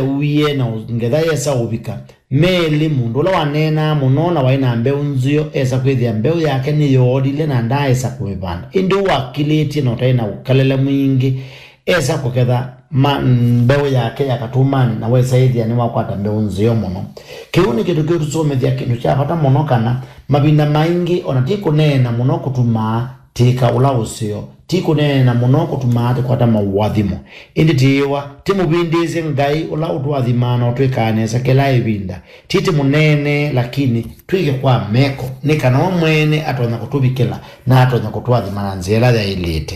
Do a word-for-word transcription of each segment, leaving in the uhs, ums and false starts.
Wĩe na ngetha yesa ũvika. Melĩ, mũndũ ũla waneenaa mũno na waĩ na mbeũ nzeo, esa kwĩthĩa mbeũ yake nĩyoolile na ndaaesa kũmĩvanda. Ĩndĩ ũũ wakilĩtye na ũtaĩ na ũkelele mwingĩ, esa kũketha ma mbeũ yake ya katũmanĩ, na wesa ĩthĩa nĩwakwata mbeũ nzeo mũno. Kĩu nĩ kĩndũ kĩũtũsomethya kĩndũ kya vata mũno, kana mavinda maingĩ o na ti kũneena mũno kũtumaa tĩka ũla ũseo. Ti kũneena mũno kũtumaa tũkwata maũathimo. Ĩndĩ tĩĩwa, tĩmũvindĩĩsye Ngai ũla ũtũathimaa na ũtwĩkaa nesa kĩla ĩvinda. Ti tĩmũneenee, lakini twĩke kwa meko, nĩ kana we mwene atonya kũtũvikĩla na atonya kũtũathima na nzĩa ĩla yaĩlĩte.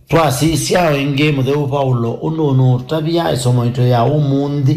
Twasisya o ĩngĩ mũtheu Vaulo ũndũ ũnũũtavya ĩsomo yitũ ya ũmũnthĩ,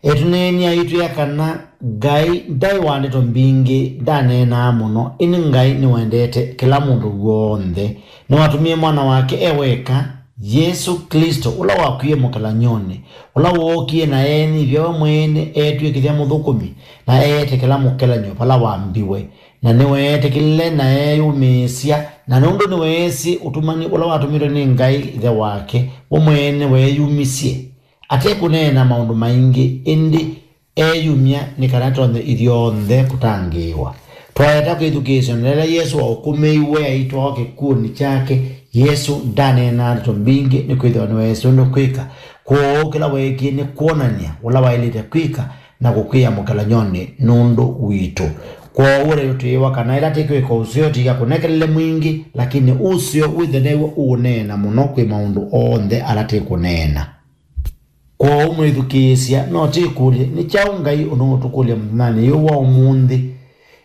etũneeni aitwĩa kana Ngai ndaĩ wa ndeto mbingĩ, ndaneenaa mũno, ĩndĩ Ngai nĩwendete kĩla mũndũ w'onthe. Nĩwatũmie Mwana wake e weka, Yesũ Klĩsto, ũla wakwie mũkelany'onĩ, ũla wookie na eenyivya we mwene, eetw'ĩkĩthya mũthũkũmi, na eetĩkĩla mũkelany'o vala wambiwe. Na nĩweetĩkĩlile na eeyũmĩĩsya, na nũndũ nĩweesĩ ũtumani ũla watũmĩtwe nĩ Ngai Ĩthe wake, we mwene weeyumisye, ate kũneena maũndũ maingĩ, ĩndĩ eeyumya nĩ kana tonye ithyonthe kũtangĩĩwa. Twaeta kwĩthukĩĩsya na ĩla Yesũ waũkũmĩiwe aitwawa kĩkw'ũnĩ kyake, Yesũ ndaneenaa ndeto mbingĩ, nĩkwĩthĩwa nĩweesĩ ũndũ kwĩka. Kwoou kĩla weekie nĩ kwonany'a ũla waĩlĩte kwĩka na kũkw'ĩa mũkelany'onĩ nũndũ witũ. Kwoou ũtwĩĩwa kana ĩla tĩkwĩka ũseo, tĩka kũnekelele mwingĩ, lakini ũseo wĩthwe new'o ũũneena mũno kwĩ maũndũ onthe ala tĩkũneena. Kwoou mwĩthukĩĩsya, no tĩkũlye, nĩ kyaũ Ngai ũnũũtũkũlya mũthenyanĩ ũyũ wa ũmũnthĩ?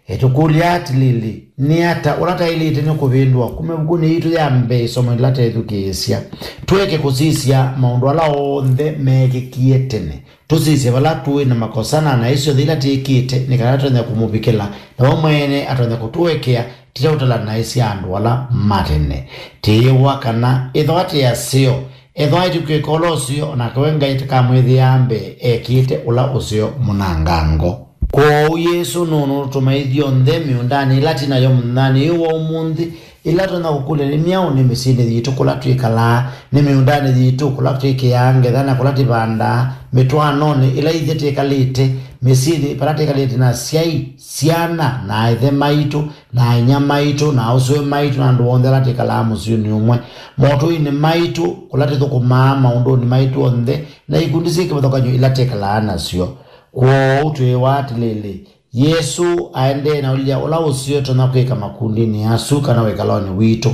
Etũkũlya atĩlĩlĩ, nĩ ata ũla taĩlĩte nĩ kũvĩndũa kuma ĩvukunĩ yitũ ya mbee ĩsomo yĩla teethukĩĩsya? Tũeke kũsisya maũndũ ala onthe meekĩkie tene. Tũsisye vala tũĩ na makosa na naĩ syonthe ila twĩkĩte, nĩ kana tũtonye kũmũvikĩla, na we mwene atonye kũtũekea tũteũtala naĩ sya andũ ala ma tene. Tĩĩwa kana ethĩwa tĩ aseo, ethĩwa ĩtũkwĩka ũla ũseo, o nake we Ngai tũkamwĩthĩaa mbee ekĩte ũla ũseo mũnangango. Kwoou Yesũ nũnũtũma ithyonthe mĩũndanĩ ĩla tĩ nayo mũthenyanĩ ũyũ wa ũmũnthĩ, ĩla tũtonya kũkũlya nĩ myaũ? Nĩ mĩsyĩnĩ yitũ kũla twĩkalaa, nĩ mĩũndanĩ yitũ kũla twĩkĩaa ngetha na kũla tũvandaa, mĩtwaanonĩ ĩla ithyĩ twĩkalĩte, mĩsyĩnĩ vala twĩkalĩte na asyai, syana, na ĩthe maitũ, na inyia maitũ, na aũsũe maitũ, na andũ onthe ala twĩkalaa mũsyĩnĩ ũmwe, motũinĩ maitũ, kũla tũthũkũmaa, maũndũnĩ maitũ onthe, na ikundi syĩ kĩvathũkany'o ila twĩkalaa nasyo. Kwoou twĩĩwa atĩlĩlĩ, Yesũ aendee na ũlya ũla ũseo tũtonya kwĩka makundinĩ asu kana wĩkalonĩ witũ,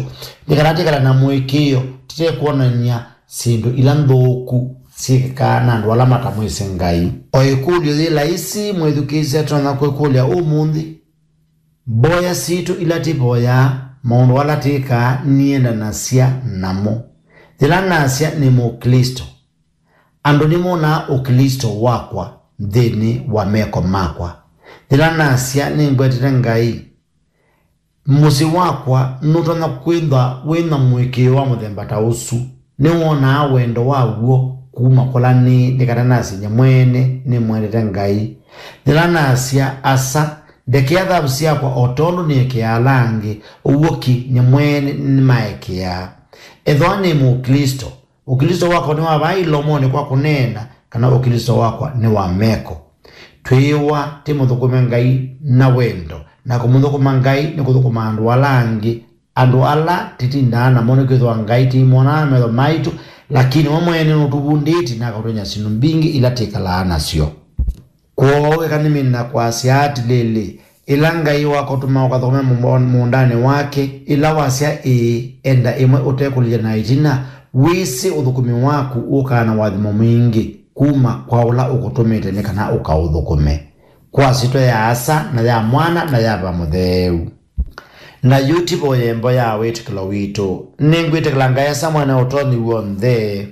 nĩ kana twĩkale na mũĩkĩĩo tũtekwonany'a syĩndũ ila nthũku syĩkĩkaa na andũ ala matamwĩsĩ Ngai. O ĩkũlyo yĩ laisi mwĩthukĩĩsya tũtonya kwĩkũlya ũmũnthĩ, mboya sitũ ila tũvoyaa, maũndũ ala twĩkaa nĩendanasya namo? Yĩla nasya nĩ Mũklĩsto, andũ nĩmonaa Ũklĩsto wakwa nthĩnĩ wa meko makwa? Yĩla nasya nĩngwetete Ngai, mũsyĩ wakwa nũtonya kwĩthwa wĩ na mũĩkĩĩo wa mũthemba ta ũsu? Nĩwonaa wendo wa w'o kuma kũla nĩĩ nĩ kana nasye nyie mwene nĩmwendete Ngai? Yĩla nasya, asa, ndekea thavu syakwa o tondũ nĩekeaa ala angĩ, ũw'o ki, nyie mwene nĩmaekeaa? Ethĩwa nĩ Mũklĩsto, Ũklĩsto wakwa nĩ wa vaa ilomonĩ kwa kũneena, kana Ũklĩsto wakwa nĩ wa meko? Twĩĩwa tũmũthũkũme Ngai na wendo, na kũmũthũkũma Ngai nĩ kũthũkũma andũ ala angĩ, andũ ala tũtindaa namo, nĩkwĩthĩwa Ngai tũimonaa na metho maitũ, lakini we mwene nũtũvundĩtye na akatwony'a syĩndũ mbingĩ ila twĩkalaa nasyo. Kwoou eka nĩmine na kwasya atĩlĩlĩ, ĩla Ngai wakũtũma ũkathũkũme mũmbo-, mũũndanĩ wake, ĩla wasya ĩĩ, enda ĩmwe ũtekũlilya na ĩtina, wĩsĩ ũthũkũmi waku ũkaa na ũathimo mwingĩ kuma kwa ũla ũkũtũmĩte nĩ kana ũkaũthũkũme. Kwa syĩtwa ya Asa, na ya Mwana, na ya Veva Mũtheu. Na yu tũvoye mboya ya wĩtĩkĩlo witũ. Nĩngwĩtĩkĩla Ngai Asa Mwene Ũtonyi W'onthe,